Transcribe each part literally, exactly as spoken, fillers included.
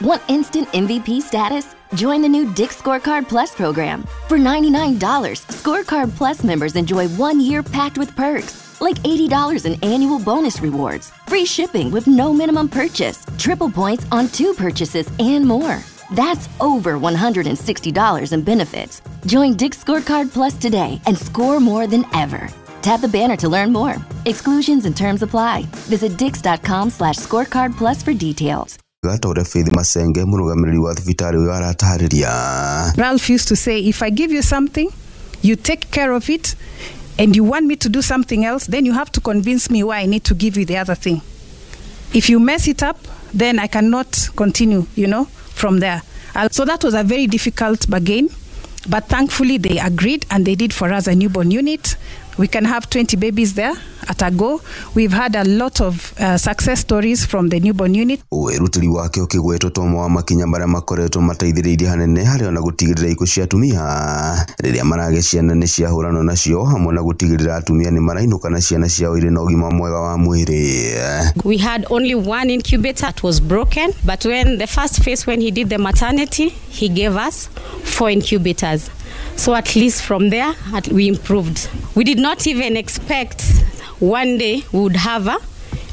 Want instant M V P status? Join the new Dick's Scorecard Plus program. For ninety-nine dollars, Scorecard Plus members enjoy one year packed with perks, like eighty dollars in annual bonus rewards, free shipping with no minimum purchase, triple points on two purchases, and more. That's over one hundred sixty dollars in benefits. Join Dick's Scorecard Plus today and score more than ever. Tap the banner to learn more. Exclusions and terms apply. Visit dicks.com slash scorecard plus for details. Gatore Faith Masenge murugamiriri wa thibitarĩ ũyũ aratarĩria. Ralph used to say, if I give you something, you take care of it, and you want me to do something else, then you have to convince me why I need to give you the other thing. If you mess it up, then I cannot continue, you know, from there. So that was a very difficult bargain, but thankfully they agreed and they did for us a newborn unit. We can have twenty babies there at a go. We've had a lot of uh, success stories from the newborn unit. Wĩrutĩri wake ũkĩgwetwo ta ũmwe wa makinya marĩa makoretwo mateithĩrĩirie hanene harĩ ona gũtigĩrĩra ikuũ cia atumia rĩrĩa maragĩa ciana nĩ ciahũranwo nacio hamwe na gũtigĩrĩra atumia nĩ marainũka na ciana ciao irĩ na ũgima mwega wa mwĩrĩ. We had only one incubator that was broken, but when the first phase, when he did the maternity, he gave us four incubators. So at least from there, we improved. We did not even expect one day we would have a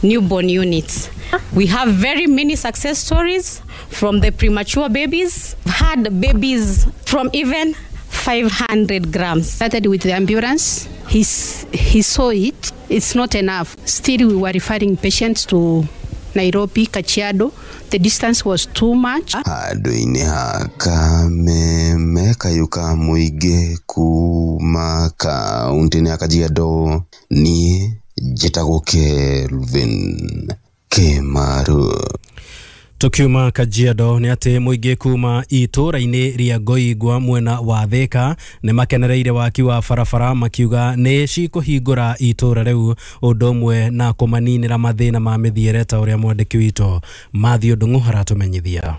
newborn unit. We have very many success stories from the premature babies. We've had babies from even five hundred grams. Started with the ambulance. He's, he saw it. It's not enough. Still, we were referring patients to Nairobi, Kajiado. The distance was too much. Handũ-inĩ ha Kameme kayuka mũingĩ kuma kaunti-inĩ ya Kajiado niĩ njĩtagwo Kelvin Kĩmaru. Tukiuma Kajiado nĩ atĩ mũingĩ kuma itũra-inĩ rĩa Ngoingwa mwena wa Thika nĩ makenereire waki wa barabara makiuga nĩ cikũhingũra itũra rĩu ũndũ ũmwe na kũmaninĩra mathĩna ma mĩthiĩre ta ũrĩa mwandĩki witũ Matthew Ndung'u aratũmenyithia.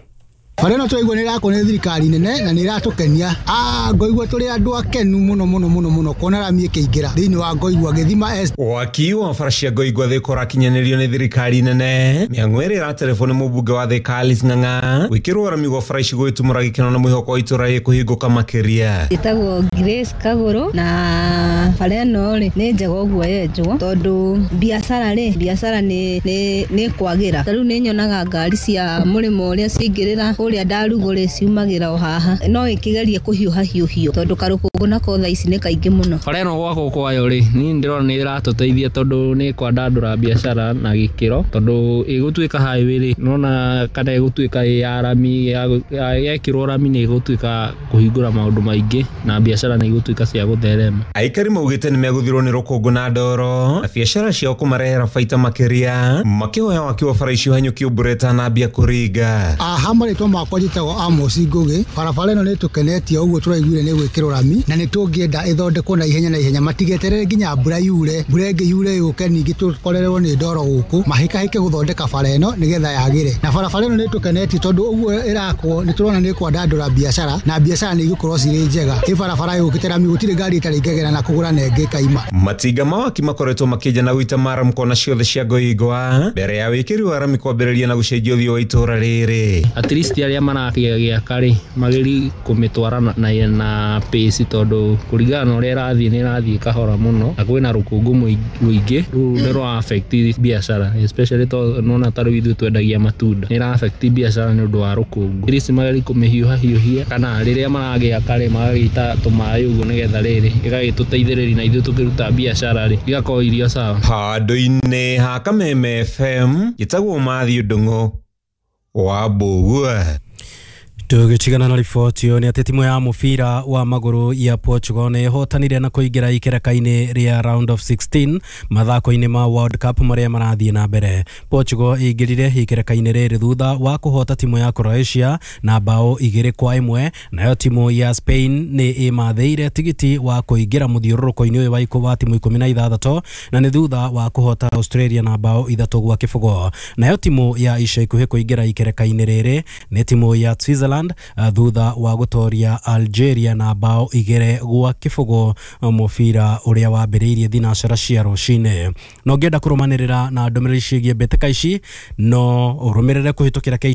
Bara ĩno tũraigua nĩ ĩrakwo nĩ thirikari nene na nĩ ĩratũkenia. Ah, Ngoigua tũrĩ andũ akenu mũno mũno mũno mũno kuona rami ĩkĩingĩra thĩinĩ wa Ngoigua gĩthima S. Waki wa bara cia Ngoigua Thika ũrakinyanĩrio nĩ thirikari nene. Mĩhang'o ĩrĩa ĩraterebwo nĩ mũmbunge wa Thika Alice Ng'ang'a gwĩkĩrwo rami gwa bara ici gũgĩtumũra gĩkeno na mwĩhoko wa itũra rĩkũhingũka makĩria. Ĩtagwo Grace Kagũrũ na bara ĩno rĩ nĩ njega ũguo yenjwo tondũ biacara rĩ biacara nĩ nĩ kwagĩra. Ta rĩu nĩ nyonaga ngari cia mũrĩmo ũrĩa ciaingĩrĩra kũrĩa ndarugũrĩ ciumagĩra o haha no ĩkĩgerie kũhiũha hiũhio tondũ karũkũngũ nako thaa ici nĩ kaingĩ mũno. Bara ĩno gwakwo kwayo rĩ niĩ ndĩrona nĩ ĩratũteithia tondũ nĩ kwandandũra biacara na gĩkĩro tondũ ĩgũtuĩka highway rĩ nona kana ĩgũtuĩka ĩ ya rami yekĩrwo rami nĩ ĩgũtuĩka kũhingũra maũndũ maingĩ na biacara nĩ igũtuĩka cia gũtherema. Aikari maugĩte nĩ megũthirwo nĩ rũkũngũ na ndoro na biacara ciao kũmarehera baita makĩria makĩhoya waki wa bara icio hanyũkio mbura ĩtanambia kũringa. Aha marĩtwa makwa njĩtagwo Amos Ngũgĩ. Barabara ĩno nĩ tũkenetie ũguo tũraiguire nĩ gwĩkĩrwo rami na nĩ tũngĩenda ĩthondekwo na ihenya na ihenya matigeterere nginya mbura yure mbura ĩngĩ yure yũke ningĩ tũkorererwo nĩ ndoro gũkũ mahĩkahĩke gũthondeka bara ĩno nĩgetha yagĩre. Na barabara ĩno nĩ tũkenetie tondũ ũguo ĩrakwo nĩ tũrona nĩ kwandandũra biacara na biacara nĩ igũkorwo cirĩ njega. Ĩ barabara yũkĩte rami gũtirĩ ngari ĩtarĩ ingĩgera na kũgũra na ĩngĩ ĩkaima. Matinga ma waki makoretwo makĩenja na gũita maramu kona ciothe cia Ngoingwa mbere ya wĩkĩri wa rami kwambĩrĩria na gũcenjia ũthiũ wa itũra rĩrĩ. At least arĩa marakĩgĩaka rĩ magĩri kũmĩtwara na na pace tondũ kũringana na ũrĩa ĩrathiĩ nĩ ĩrathiĩ kahora mũno na kwĩna rũkũngũ mũingĩ rũu nĩ rwa affect biacara especially tondũ nona ta rĩu ithuĩ twendagia matunda nĩ ĩra affect biacara nĩ ũndũ wa rũkũngũ. At least magĩri kũmĩhiũha hiũhia kana rĩrĩa maragĩaka rĩ magagĩita tũmaĩ ũguo nĩgetha rĩrĩ ĩgagĩtũteithĩrĩria na ithuĩ tũkĩruta biacara rĩ igakorwo irio sawa. Handũ-inĩ ha Kameme F M njĩtagwo Matthew Ndung'u wa Mbũgua. Tũgĩtigana na riboti ĩyo nĩ atĩ timu ya mũbira wa magũrũ ya Portugal nĩ ĩhotanire na kũingĩra ikereka-inĩ rĩa round of sixteen mathako-inĩ ma World Cup marĩa marathiĩ na mbere. Portugal ĩingĩrire ikereka-inĩ rĩrĩ thutha wa kũhota timu ya Croatia na bao igĩrĩ kwa ĩmwe, nayo timu ya Spain nĩ ĩmathĩire tigiti wa kũingĩra mũthiũrũrũko-inĩ ũyũ wa ikũ wa timu ikũmi na ithathatũ na nĩ thutha wa kũhota Australia na bao ithatũ gwa kĩbũgũ. Nayo timu ya ica ikuhĩ kũingĩra ikereka-inĩ rĩrĩ nĩ timu ya Switzerland thutha wa gũtoria Algeria na bao igĩrĩ gwa kĩbũgũ mũbira ũrĩa wambĩrĩirie thinacara cia rũcinĩ. No ngĩenda kũrũmanĩrĩra na ndũmĩrĩri ciĩgiĩ mbĩtĩka ici no ũrũmĩrĩre kũhĩtũkĩra K two